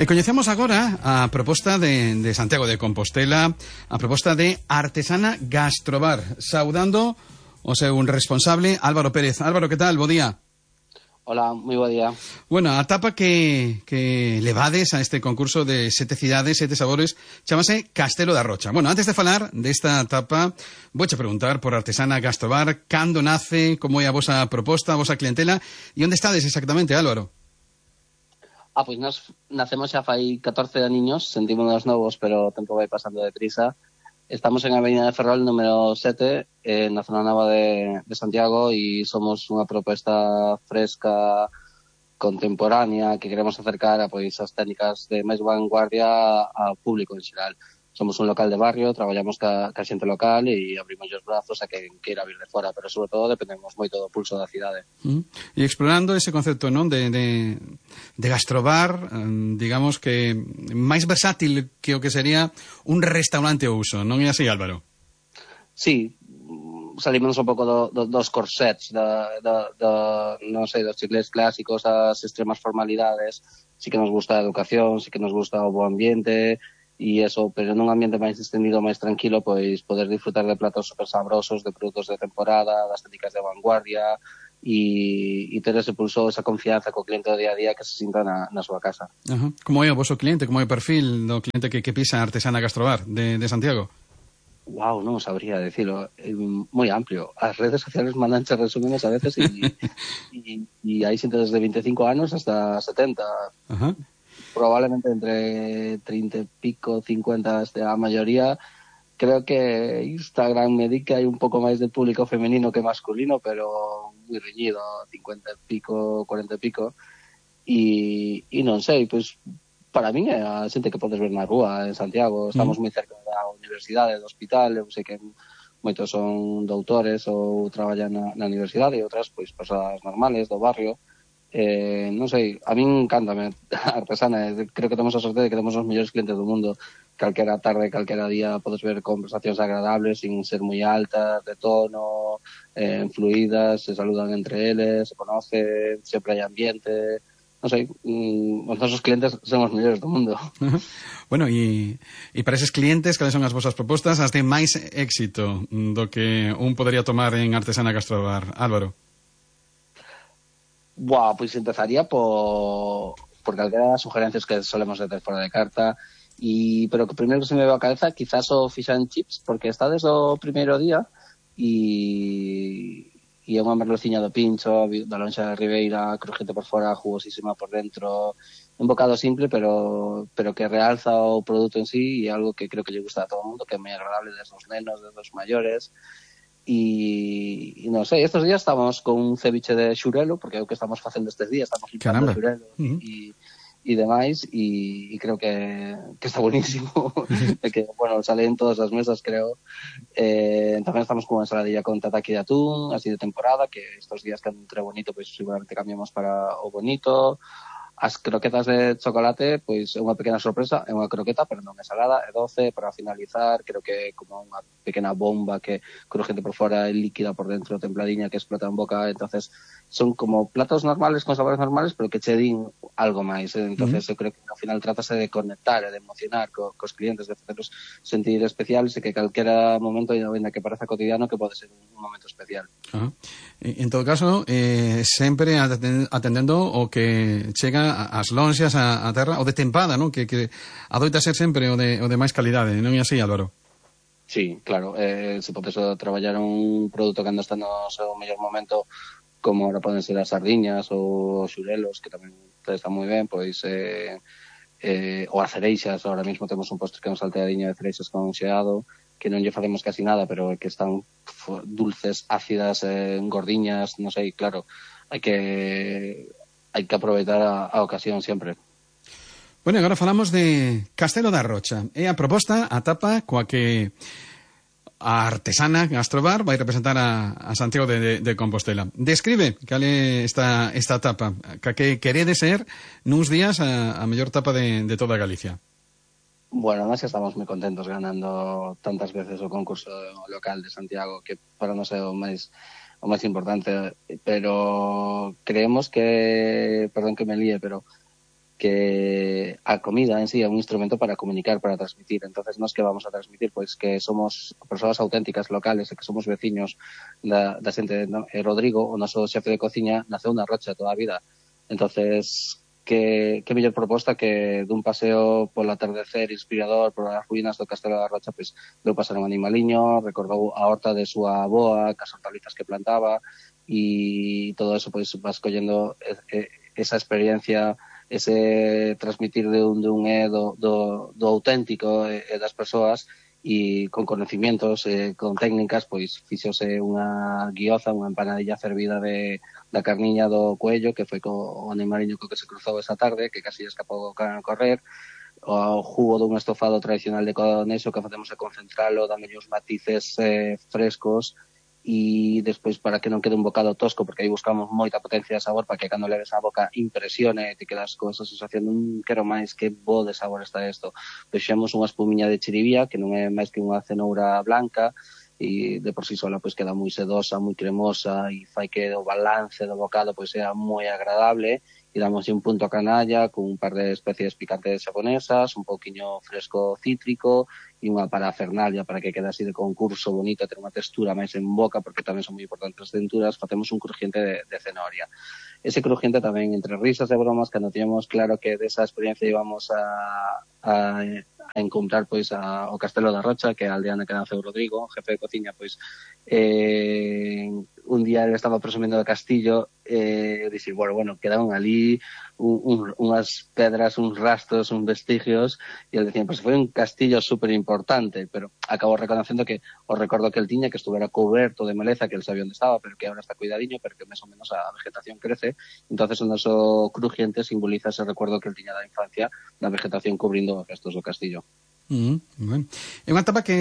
E coñecemos agora a proposta de Santiago de Compostela, a proposta de Artesana Gastrobar, saudando o seu responsable Álvaro Pérez. Álvaro, que tal? Bo día. Hola, moi bo día. Bueno, a tapa que levades a este concurso de 7 cidades, 7 sabores, chamase Castelo da Rocha. Bueno, antes de falar desta tapa, vouche preguntar por Artesana Gastrobar, cando nace, como é a vosa proposta, a vosa clientela, e onde estades exactamente, Álvaro? Pois nós nacemos xa fai 14 aniños, sentímonos novos, pero o tempo vai pasando deprisa. Estamos en Avenida de Ferrol, número 7, na zona nova de Santiago, e somos unha proposta fresca, contemporánea, que queremos acercar a pois as técnicas de máis vanguardia ao público en xeral. Somos un local de barrio, traballamos ca xente local e abrimos os brazos a quen queira vir de fora, pero sobre todo dependemos moito do pulso da cidade. E explorando ese concepto, non, de gastrobar, digamos que máis versátil que o que sería un restaurante ao uso, non é así, Álvaro? Sí, salimos un pouco dos corsets, non sei, dos chiclés clásicos, as extremas formalidades. Sí que nos gusta a educación, sí que nos gusta o bo ambiente, e eso, pero nun ambiente máis distendido, máis tranquilo, pois poder disfrutar de platos super sabrosos, de produtos de temporada, das técnicas de vanguardia, e ter ese pulso, esa confianza co cliente do día a día que se sinta na súa casa. Como é o voso cliente, como é o perfil do cliente que pisa a Artesana Gastrobar de Santiago? Wow, non sabría decirlo, moi amplio. As redes sociales mandanche resúmenes a veces e hai xente desde 25 anos hasta 70. Probablemente entre 30 e pico, 50 a maioría. Creo que Instagram me di que hai un pouco máis de público femenino que masculino, pero moi reñido, 50 e pico, 40 e pico. E non sei, pois para min é a xente que podes ver na rúa en Santiago. Estamos moi cerca da universidade, do hospital. Eu sei que moitos son doutores ou traballan na universidade, e outras pois persoas normales do barrio. Non sei, a min encántame a Artesana. Creo que temos a sorte de que temos os mellores clientes do mundo. Calquera tarde, calquera día podes ver conversacións agradables sin ser moi altas, de tono, fluidas, se saludan entre eles, se conocen, sempre hai ambiente. Non sei, os nosos clientes son os mellores do mundo. Bueno, e para eses clientes, cales son as vosas propostas, as de máis éxito do que un podería tomar en Artesana Gastrobar, Álvaro? Pois empezaría por calquera das sugerencias que solemos ter fora de carta, pero que primeiro que se me veo a cabeza quizás o fish and chips, porque está desde o primeiro día e é unha merluciña do pincho, da lonxa de Ribeira, crujente por fora, jugosísima por dentro, un bocado simple, pero que realza o produto en sí, e algo que creo que lle gusta a todo o mundo, que é moi agradable desde os nenos, desde os maiores. E non sei, estes días estamos con un ceviche de xurelo, porque é o que estamos facendo estes días, estamos limpiando xurelo e demais, e creo que está buenísimo. Que, bueno, sale en todas as mesas, creo. Tamén estamos con unha ensaladilla con tataki de atún, así de temporada, que estes días que entre bonito, pois seguramente cambiamos para o bonito. As croquetas de chocolate, pois é unha pequena sorpresa, é unha croqueta, pero non é salada, é doce, para finalizar, creo que é como unha pequena bomba que crujente por fora, é líquida por dentro, templadiña, que explota en boca. Entonces son como platos normales, con sabores normales, pero que che din algo máis. Entonces eu creo que ao final trátase de conectar e de emocionar cos clientes, de facerlos sentir especiales, e que calquera momento, ainda que pareza cotidiano, que pode ser un momento especial. En todo caso, sempre atendendo o que chega as lonxas a terra, o de tempada, non? Que adoita ser sempre o de máis calidade, non é así, Álvaro? Sí, claro, se podes traballar un produto que anda está no seu mellor momento, como ahora poden ser as sardiñas ou os xurelos, que tamén están moi ben, pois ou as cereixas. Ahora mesmo temos un postre que é un salteadiño de cereixas con xeado, que non lle facemos casi nada, pero que están dulces, ácidas, gordiñas, non sei, claro, hai que aproveitar a ocasión sempre. Bueno, agora falamos de Castelo da Rocha. É a proposta, a tapa coa que a Artesana Gastrobar vai representar a Santiago de Compostela. Describe cal é esta tapa, que querede ser nuns días a mellor tapa de toda Galicia. Bueno, nós estamos moi contentos ganando tantas veces o concurso local de Santiago, que para nós é o máis importante, pero creemos que, perdón que me líe, pero que a comida en sí é un instrumento para comunicar, para transmitir. Entonces, nós que vamos a transmitir? Pois que somos persoas auténticas, locales, e que somos veciños da xente. No? E Rodrigo, o noso xefe de cociña, naceu na Rocha toda a vida. Entonces, que mellor proposta que dun paseo polo atardecer inspirador por as ruínas do Castelo da Rocha, pois deu pasar un animaliño, recordou a horta de súa avoa, cas hortalizas que plantaba, e todo eso pois vas collendo esa experiencia, ese transmitir de un do auténtico e das persoas, e con conocimientos, con técnicas, pois fixose unha guioza, unha empanadilla fervida da carniña do coello, que foi co animaliño co que se cruzou esa tarde, que casi escapou o can a correr, o jugo dun estofado tradicional de conexo que facemos a concentralo, dámelle uns matices frescos, e despois para que non quede un bocado tosco, porque aí buscamos moita potencia de sabor para que cando leves a boca impresione e te quedas con esa sensación quero máis, que bo de sabor está isto. Fixemos unha espumiña de chiribía que non é máis que unha cenoura blanca, e de por sí sola pois queda moi sedosa, moi cremosa, e fai que o balance do bocado pois sea moi agradable, e damos un punto a canalla con un par de especies picantes xaponesas, un pouquiño fresco cítrico e unha parafernalia para que quede así de concurso bonito, ter unha textura máis en boca, porque tamén son moi importantes as texturas. Facemos un crujiente de cenoria. Ese crujiente tamén, entre risas e bromas, cando teníamos claro que desa experiencia íbamos a encontrar pois ao Castelo da Rocha, que é a aldea na que naceu Rodrigo, jefe de cociña, pois un día ele estaba presumindo do castillo, e dixi, bueno, quedaron ali unhas pedras, uns rastros, uns vestigios, e ele dicía, pois foi un castillo super importante, pero acabou reconocendo que o recordo que el tiña, que estuvera coberto de maleza, que el sabía onde estaba, pero que ahora está cuidadiño, pero que máis ou menos a vegetación crece. Entonces o noso crujiente simboliza ese recuerdo que el tiña da infancia, da vegetación cubrindo os restos do castillo. Bueno. É unha tapa que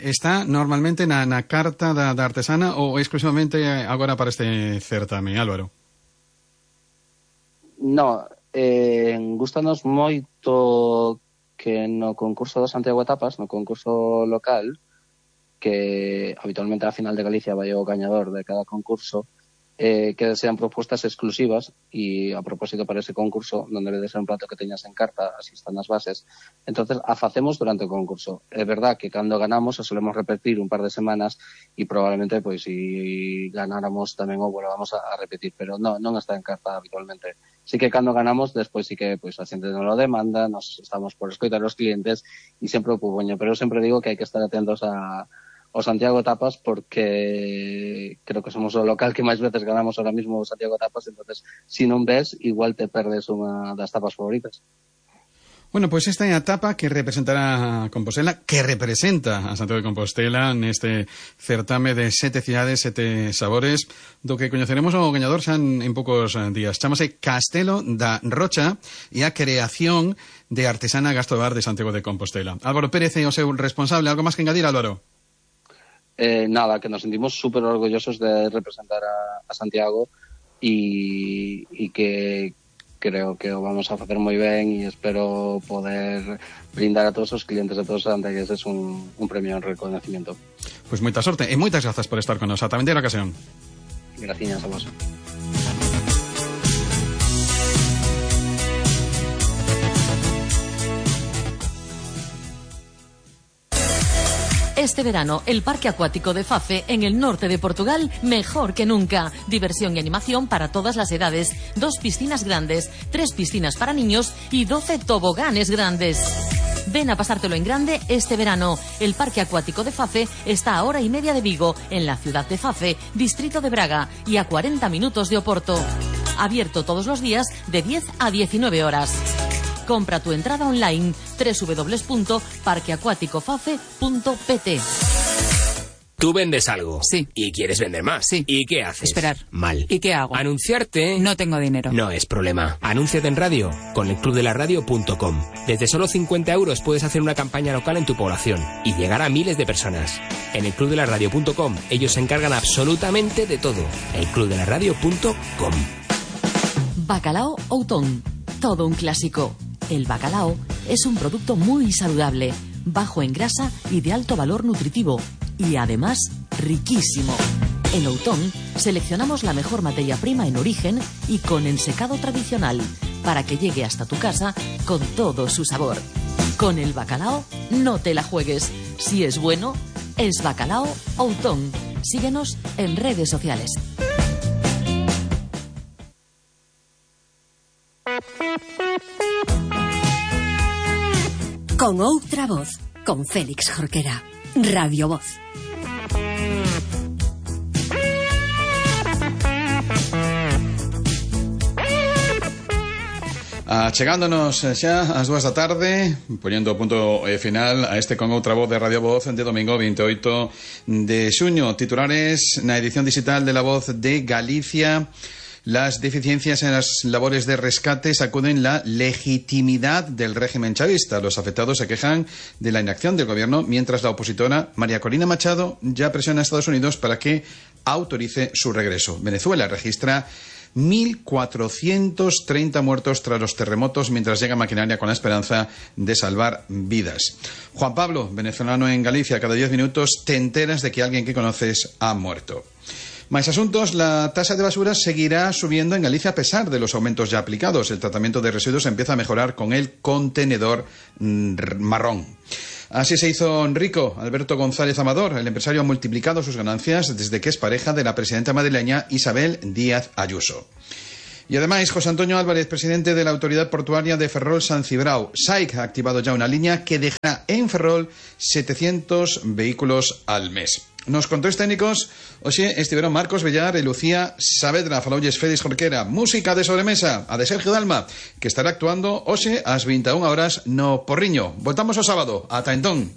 está normalmente na carta da artesana ou exclusivamente agora para este certame, Álvaro? No, gustanos moito que no concurso do Santiago Tapas, no concurso local, que habitualmente a final de Galicia vai o gañador de cada concurso, que sean propostas exclusivas, e a propósito para ese concurso donde le des un plato que teñas en carta, así están as bases. Entonces a facemos durante o concurso. É verdad que cando ganamos a solemos repetir un par de semanas, e probablemente pois si ganáramos tamén o volvamos a repetir, pero non está en carta habitualmente. Sí que cando ganamos, despois sí que pois a xente non lo demanda, nos estamos por escoitar os clientes, e sempre o pupoño, pero eu sempre digo que hai que estar atentos o Santiago Tapas, porque creo que somos o local que máis veces ganamos ahora mismo o Santiago Tapas. Entonces, si non ves, igual te perdes unha das tapas favoritas. Bueno, pois esta é a tapa que representará a Compostela, que representa a Santiago de Compostela neste certame de 7 cidades, 7 sabores, do que coñeceremos o gañador xa en poucos días. Chámase Castelo da Rocha, e a creación de Artesana Gastrobar de Santiago de Compostela. Álvaro Pérez é o seu responsable. Algo máis que engadir, Álvaro? Nada, que nos sentimos súper orgullosos de representar a Santiago, e que creo que o vamos a facer moi ben, e espero poder brindar a todos os clientes de todos os santiagueses un premio en reconocimiento. Pois moita sorte e moitas grazas por estar con nos. Ata a vindeira ocasión. Graciñas a vos. Este verano, el Parque Acuático de Fafe, en el norte de Portugal, mejor que nunca. Diversión y animación para todas las edades. 2 piscinas grandes, 3 piscinas para niños y 12 toboganes grandes. Ven a pasártelo en grande este verano. El Parque Acuático de Fafe está a 1 hora y media de Vigo, en la ciudad de Fafe, distrito de Braga, y a 40 minutos de Oporto. Abierto todos los días de 10 a 19 horas. Compra tu entrada online www.parqueacuaticofafe.pt. Tú vendes algo. Sí. Y quieres vender más. Sí. ¿Y qué haces? Esperar. Mal. ¿Y qué hago? Anunciarte. No tengo dinero. No es problema. Anúnciate en radio con elclubdelaradio.com. Desde solo 50 euros puedes hacer una campaña local en tu población y llegar a miles de personas. En elclubdelaradio.com ellos se encargan absolutamente de todo. elclubdelaradio.com. Bacalao Outón. Todo un clásico. El bacalao es un producto muy saludable, bajo en grasa y de alto valor nutritivo, y además riquísimo. En Outón seleccionamos la mejor materia prima en origen y con ensecado tradicional para que llegue hasta tu casa con todo su sabor. Con el bacalao no te la juegues. Si es bueno, es Bacalao Outón. Síguenos en redes sociales. Con outra voz, con Félix Jorquera. Radio Voz. Chegándonos xa ás 2 da tarde, poñendo punto final a este Con outra voz de Radio Voz de domingo 28 de xuño. Titulares na edición digital de La Voz de Galicia. Las deficiencias en las labores de rescate sacuden la legitimidad del régimen chavista. Los afectados se quejan de la inacción del gobierno, mientras la opositora María Corina Machado ya presiona a Estados Unidos para que autorice su regreso. Venezuela registra 1.430 muertos tras los terremotos, mientras llega maquinaria con la esperanza de salvar vidas. Juan Pablo, venezolano en Galicia, cada 10 minutos te enteras de que alguien que conoces ha muerto. Más asuntos, la tasa de basura seguirá subiendo en Galicia a pesar de los aumentos ya aplicados. El tratamiento de residuos empieza a mejorar con el contenedor marrón. Así se hizo rico Alberto González Amador. El empresario ha multiplicado sus ganancias desde que es pareja de la presidenta madrileña Isabel Díaz Ayuso. Y además, José Antonio Álvarez, presidente de la Autoridad Portuaria de Ferrol-San Cibrao. SAIC ha activado ya una línea que dejará en Ferrol 700 vehículos al mes. Nos controles técnicos, hoxe estiveron Marcos Bellar e Lucía Saavedra. Faloulles Félix Jorquera. Música de sobremesa, a de Sergio Dalma, que estará actuando hoxe ás 21 horas no Porriño. Voltamos o sábado. Ata entón.